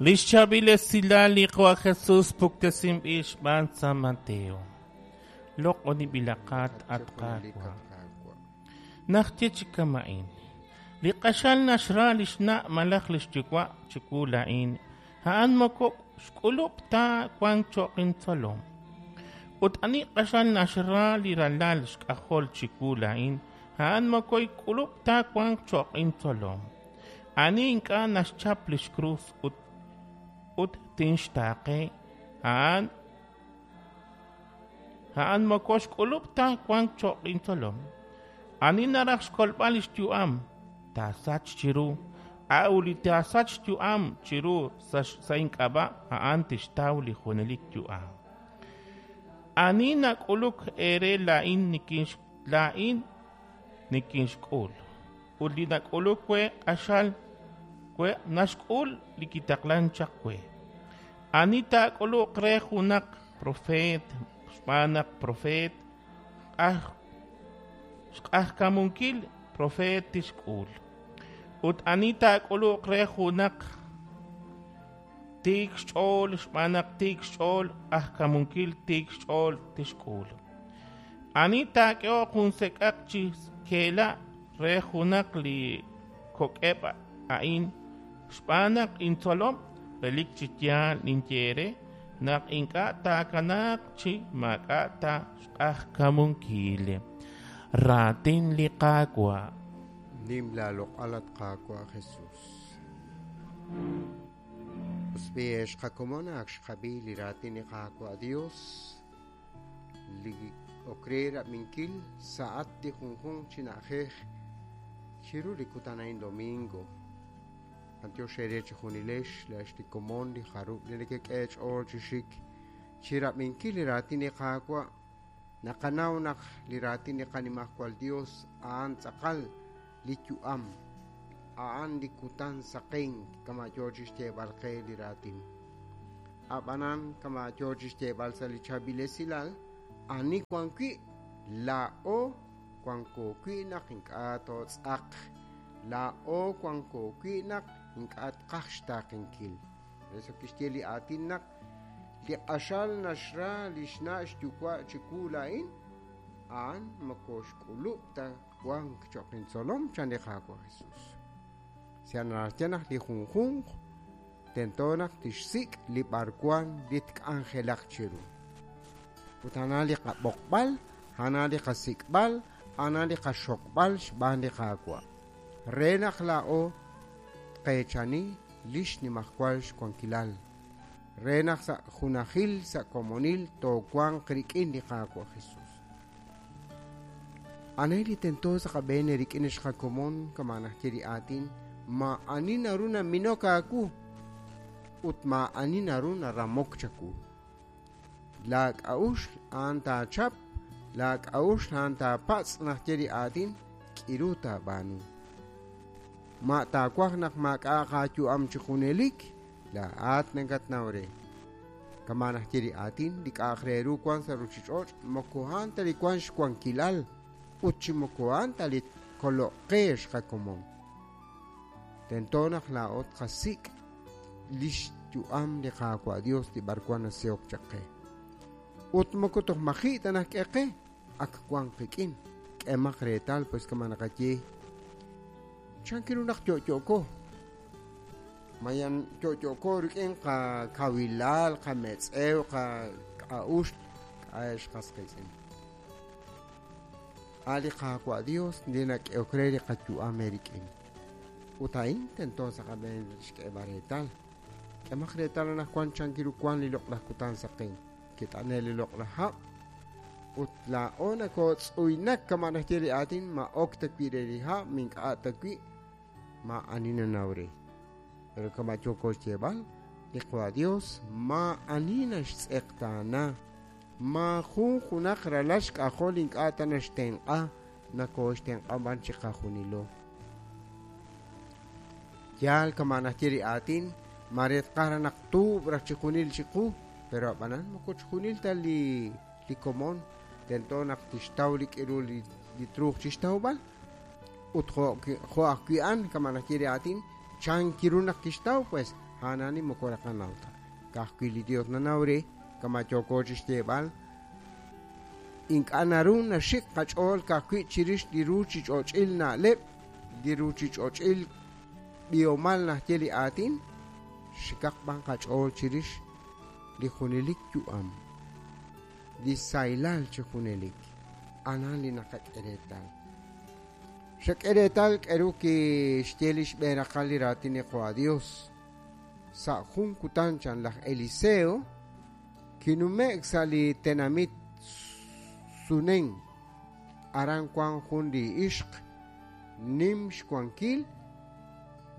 Li xchaab'il esilal li Qaawa' Jesus puktesinb'il xb'aan San Mateo. Loq'onib'ilaqat, at Qaawa'. Naxye chi kama'in, Li q'axal naxra li xna' malaj li xyuwa' chiwu laa'in, a'an moko xk'ulub' ta wank cho'q intzolom. Ut ani q'axal naxra li ralal xk'ajol chiwu laa'in, a'an moko xk'ulub' ta wank cho'q intzolom. Ani ink'a' naxchap li xkrus ut ut tinxtaaqe, a'an a'an moko xk'ulub' ta wank cho'q intzolom. Ani naraj xkolb'al li xyu'am, taasach chiru, a'ut li taasach xyu'am chiru sa' ink'ab'a', a'an tixtaw li junelik yu'am. Ani nak'uluk eere laa'in laa'in nikinxk'ul, ut li nak'uluk we q'axal we naxk'ul li kitaqlank chaq we. Ani taak'uluq re junaq propeet xb'aan naq propeet, xq'ajkamunkil propeet tixk'ul. Ut ani taak'uluq re junaq tiik xch'ool xb'aan naq tiik xch'ool, q'ajkamunkil tiik xch'ool tixk'ul. Ani taak'ehoq jun sek'aq chi keela' re junaq li kok'eb' a'in xb'aan naq intzolom, relik chi yaal ninye eere naq ink'a' taakanaaq chi maak'a' ta xq'ajkamunkil. Raatin li Qaawa'. Nim laaloq'al, at Qaawa' Jesus. Us b'i' ex qakomon, ak xqab'i li raatin li Qaawa' Dios li ok re rab'inkil sa'at li junjunq chi na'ajej chiru li kutan a'in domingo. B'antiox eere chejunilex, laa'ex li komon li jarub' li nekek'e eech'ool chi xik chi rab'inkil li raatin li Qaawa'. Naqanaw naq li raatin li Qanimajwal Dios a'an tz'aqal li yu'am, a'an li kutan saqenk kama' yoo chixyeeb'al qe li raatin. A'b'anan, kama' yoo chixyeeb'al sa' li chaab'il esilal, ani wan wi', laa'o wanko wi' naq ink'a' tootz'aq, laa'o wanko wi' naq ink'a' tqaj xtaaqenkil. Por eso kixye li aatin naq li q'axal naxra li xna' xyuwa' chiwu laa'in, a'an moko xk'ulub' ta wank cho'q intzolom, chan li Qaawa' Jesus. Sa' naraj naq li junjunq tento naq tixsik' li b'arwan li tk'anjelaq chiru. Ut a'an li qab'oqb'al, a'an li qasik'b'al, a'an li qaxokb'al xb'aan li Qaawa'. Re naq laa'o tqeechani li xnimajwal xwankilal, re naq sa' junajil sa' komonil toowanq rik'in li Qaawa' Jesus. Ani li tento sa' qab'een rik'in xqakomon kama' naxye li aatin, maa'ani naru naminok aawu ut maa'ani naru naramok chawu. Laak'a'uxl a'an taachap, laak'a'uxl a'an taapatz' naxye li aatin, k'iru taab'aanu. Ma taawaj naq maak'a'aq aayu'am chi junelik, laa'at nakatnaw re. Kama' naxye li aatin, li k'a'aq re ru wank sa' ruuchich'och' moko a'an ta li wank xwankilal ut chi moko a'an ta li tkoloq qe xqakomon. Tento naq laa'o tqasik' li xyu'am li Qaawa' Dios li b'arwan nasehok chaq qe. Ut moko toj maji' ta naxk'e qe, ak wank qik'in. K'emaq reetal pues kama' naqaye, chan ru naq yo'yo'ko? Mayan yo'yo'ko rik'in qakawilal, qametz'ew, qak'a'uxl, k'a'ex qas qiitz'in. A' li Qaawa' Dios li nak'ehok re li qayu'am eerik'in. Ut a'in tento sa' qab'een xk'eeb'al reetal. K'emaq reetal anaqwan chan ru wank li loq'laj kutan saqen. Kit'ane' li loq'laj hab' ut laa'o nakootz'uynak kama' naxye li aatin, ma ok ta wi' re li hab', mink'a' ta wi', maa'ani nanaw re. Pero kama' yooko xyeeb'al, li Qaawa' Dios maa'ani naxtz'eqtaana, maajun junaq ralal xk'ajol ink'a' ta naxtenq'a, nakooxtenq'a b'an chiqajunilo. Yaal kama' naxye li aatin, mare tqaj raj naq tuub' raj chijunil chiqu, pero ab'anan moko chijunil ta li li komon tento naq tixtaw li k'iru li truuq chixtawb'al. Ut jo' ajwi' a'an kama' naxye li aatin, chan kiru naq kixtaw pues, A'anani moko naqanaw ta. Ka'ajwi' li Dios nanaw re, kama' yooko chixyeeb'al, ink'a' naru naxik qach'ool ka'ajwi' chirix li ruchich'och'il na'leb', li ruchich'och'il b'ihomal naxye li aatin, xikaq b'an qach'ool chirix li junelik yu'am, li sahilal chi junelik. Anan li naqak'e reetal. Xak'e reetal k'aru kixye li xb'een raqal li raatin li Qaawa' Dios. Sa' jun kutan chan laj Eliseo kinume'k sa' li tenamit Sunen. Aran wank jun li ixq nim xwankil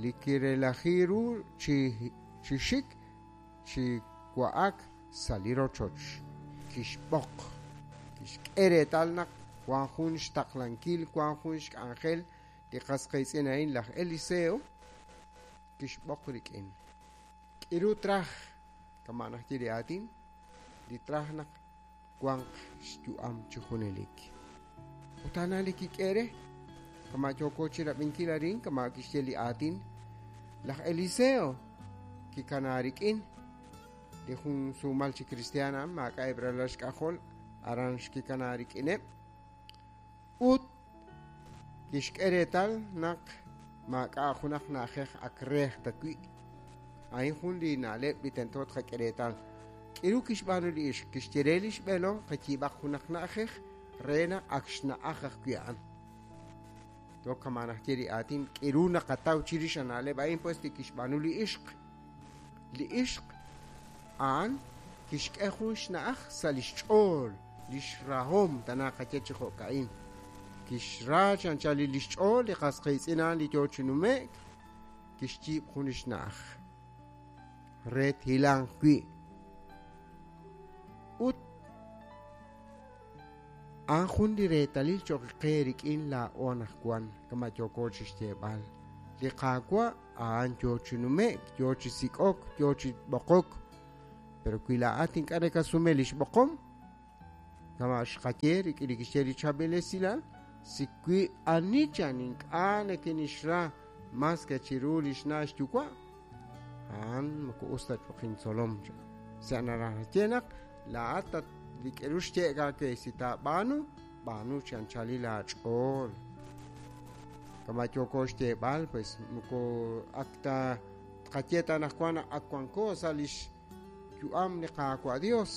li kirelaji ru chi xik chi wa'ak sa' li rochoch. Kixb'oq, kixk'e reetal naq wank jun xtaqlankil, wank jun xk'anjel li qas qiitz'in a'in laj Eliseo, kixb'oq rik'in. K'iru traj, kama' naxye li aatin, li traj naq wanq xyu'am chi junelik. Ut a'an li kik'e re, kama' yooko chi rab'inkil arin, kama' kixye li aatin, laj Eliseo kikana rik'in li jun sumal chi kristiaan a'an maak'a'eb' ralal xk'ajol aran xkikana rik'ineb' ut kixk'e reetal naq maak'a' junaq na'ajej ak reej ta wi'. A'in jun li na'leb' li tento tqak'e reetal. K'iru kixb'aanu li ixq, kixye re li xb'eelom qayiib'aq junaq na'ajej re naq ak xna'aj ajwi' a'an. Toq kama' naxye li aatin k'iru naqataw chirix a na'leb' a'in pues li kixb'aanu li ixq. Li ixq a'an kixk'e jun xna'aj sa' li xch'ool, li xrahom tana qaye chi jo'ka'in. Kixra chi anchal li xch'ool li qas qiitz'in a'an li yo chi nume'k, kixyiib' jun li xna'aj re thilanq wi'. Ut a'an jun li reetalil cho'q qe rik'in laa'o anaqwan, kama' yooko chi xyeeb'al. Li Qaawa' a'an yo chi nume'k, yo chi sik'ok, yo chi b'oqok. Pero wi laa'at ink'a' nakasume li xb'oqom, kama' xqaye rik'in li kixye li chaab'il esilal, si wi ani chan ink'a' nikinixra mas ke chiru li xna' xyuwa', a'an moko us ta cho'q intzolom chan. Sa' naraj naxye naq laa'at li k'aru xye'k aawe si taab'aanu, b'aanu chi anchalil aach'ool. Kama' yooko xyeeb'al, pues moko ak ta tqaye ta anaqwan naq ak wanko sa' li xyu'am li Qaawa' Dios.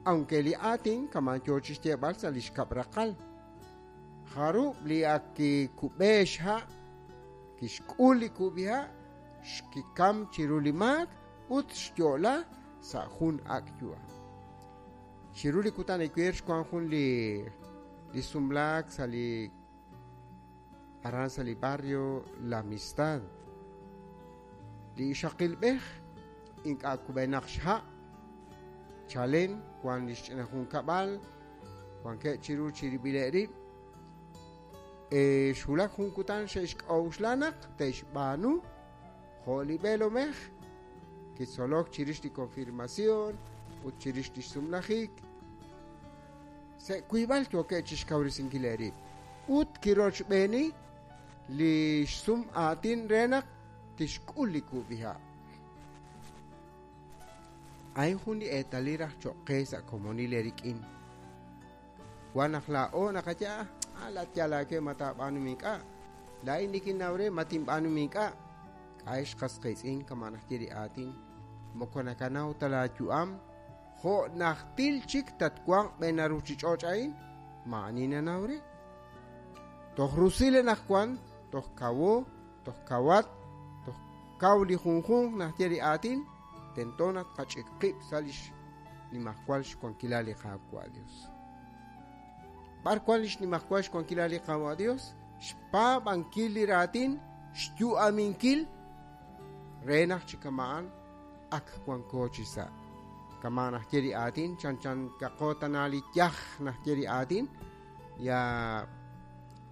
Aunque li aatin kama' yo chi xyeeb'al sa' li xkab' raqal. Jarub' li ak kikub'e xha', kixk'ul li kub'iha', xkikam chiru li maak ut xyo'la sa' jun ak' yu'am. Chiru li kutan ewer xwank jun li sumlaak sa' li aran sa' li barrio La Amistad. Li ixaqilb'ej ink'a' kub'enaq xha', chalen wank li xch'ina junkab'al, wankeb' chiru chirib'ileb' rib'. Xwulak jun kutan xe'xk'a'uxla naq te'xb'aanu jo' li b'eelomej kitzolok chirix li confirmación ut chirix li xsumlajik. Sa' wiib'al yookeb' chi xkawresinkil eerib' ut kirochb'eeni li xsum aatin re naq tixk'ul li kub'iha'. A'in jun li eetalil raj cho'q qe sa' komonil eerik'in. Wan naq laa'o naqaye, ah, laa'at yaal aawe ma taab'aanu ink'a'. Laa'in nikinnaw re ma tinb'aanu ink'a'. K'a'ex qas qiitz'in kama' naxye li aatin. Moko nakanaw ta laayu'am jo' najtil chik tatwanq b'een ruuchich'och' a'in, maa'ani nanaw re. Toj rusil anaqwan, toj kawo, toj kawat, toj kaw li junjunq naxye li aatin, tento naq tqach'ik qib' sa' li xnimajwal xwankilal li Qaawa' Dios. B'ar wank li xnimajwal xwankilal li Qaawa' Dios? Xpaab'ankil li raatin, xyu'aminkil re naq chi kama'an ak wanko chi sa'. Kama' naxye li aatin, chanchan kaqo tana li yaj naxye li aatin, ya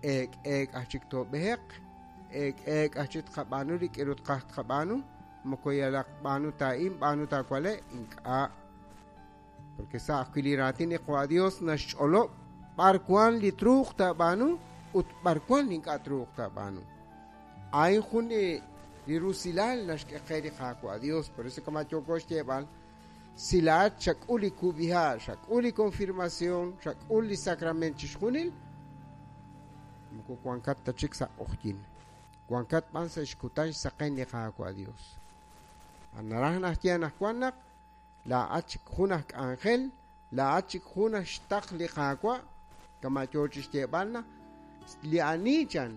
eek' eek' aj chik toob'eheq, eek' eek' aj chik tqab'aanu li k'aru tqaj tqab'aanu, moko yalaq b'aanu taa'in, b'aanu taawale', ink'a'. Porque sa' ajwi' li raatin li Qaawa' Dios naxch'olob' b'ar wank li truuq taab'aanu ut b'ar wank li ink'a' truuq taab'aanu. A'in jun li Li rusilal naxk'e qe li Qaawa' Dios, por eso kama' yooko xyeeb'al, si laa'at xak'ul li kub'iha', xak'ul li confirmación, xak'ul li sacrament chixjunil, moko wankat ta chik sa' q'ojyin. Wankat b'an sa' xkutan xsaqen li Qaawa' Dios. Naraj naxye anaqwan naq laa'at chik jun aj k'anjel, laa'at chik jun aj xtaql li Qaawa', kama' yoo chixyeeb'al naq li ani chan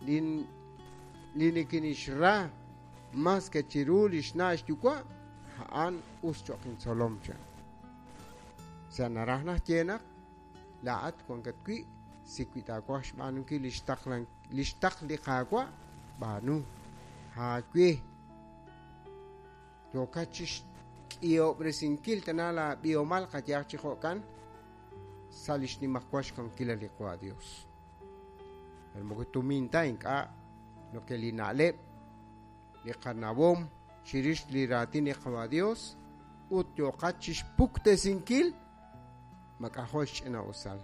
li li nikinixra mas ke chiru li xna' xyuwa', a'an us cho'q intzolom chan. Sa' naraj naxye naq laa'at wankat wi' si wi taawaj xb'aanunkil li xtaqlan li xtaql li Qaawa', b'aanu. Aawe. Yookat chixk'ihob'resinkil tana laab'ihomal qayehaq chi jo'kan sa' li xnimajwal xwankilal li Qaawa' Dios. Pero moko tumin ta ink'a' lo que li na'leb', li qanawom chirix li raatin li Qaawa' Dios ut yooqat chixpuktesinkil mak'ajo' xch'ina'usal.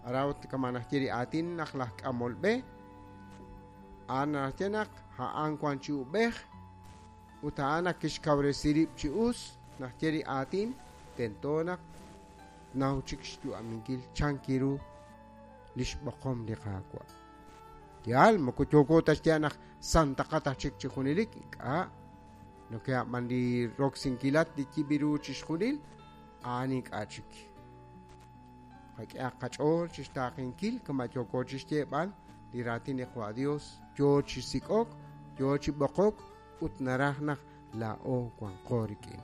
Ara ut kama naxye li aatin naq laj k'amol b'e a'an naxye naq a'an wan chi ub'ej ut a'an naq kixkawresi rib' chi us naxye li aatin tento naq naw chik xyu'aminkil chan kiru li xb'oqom li Qaawa'. Yaal, moko yooko ta xye naq santaqat aj chik chi junelik, ink'a'. Lo que a'b'an li roksinkil li yib'iru chixjunil, a'an ink'a' chik. Qak'ehaq qach'ool chixtaaqenkil kama' yooko chixyeeb'al li raatin li Qaawa' Dios yoo chi sik'ok, yoo chi b'oqok ut naraj naq laa'o wanqo rik'in.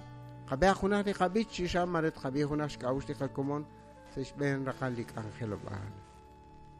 Qab'ehaq junaq li qab'ich chi xa mare tqab'i junaq xk'a'uxl li qakomon sa' xb'een raqal li k'anjelob'aal.